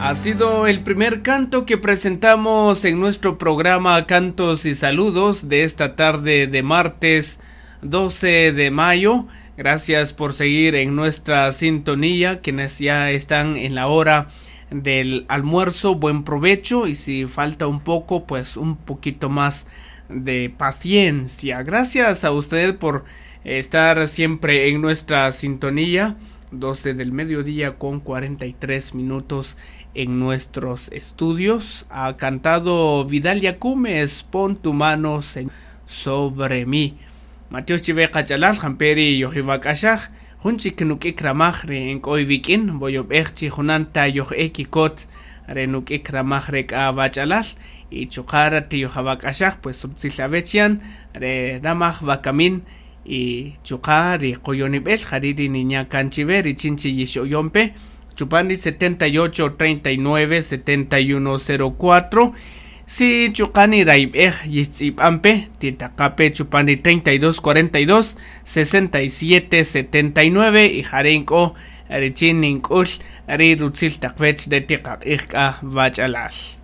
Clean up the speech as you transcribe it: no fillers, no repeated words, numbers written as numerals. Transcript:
Ha sido el primer canto que presentamos en nuestro programa Cantos y Saludos de esta tarde de martes 12 de mayo. Gracias por seguir en nuestra sintonía, quienes ya están en la hora del almuerzo, buen provecho y si falta un poco, pues un poquito más de paciencia. Gracias a usted por estar siempre en nuestra sintonía. 12 del mediodía con 43 minutos en nuestros estudios. Ha cantado Vidal Yacumes, pon tu mano sobre mí. Mateo Chive Qachalal, Jamperi Yohibakashaj, Junchik nuk'ik ramaj re nk'oy vik'in, boyob'ej chi junanta yoj'ekikot re nuk'ik ramaj re k'a bach'alal y chuqara tiyojabak'axaj pues rutzilawechyan re ramaj bakamin y chuqa ri qoyonib'el jari ri niña kanchive richin chi yixoyompe chupani 78 39 71 04 si chuqani raib'ej yitz'ib'anpe titaqape chupani 32 42 67 79 y jarenko richin nink'ul ri rutzil taqwech de tiqaq'ij k'a bach'alal.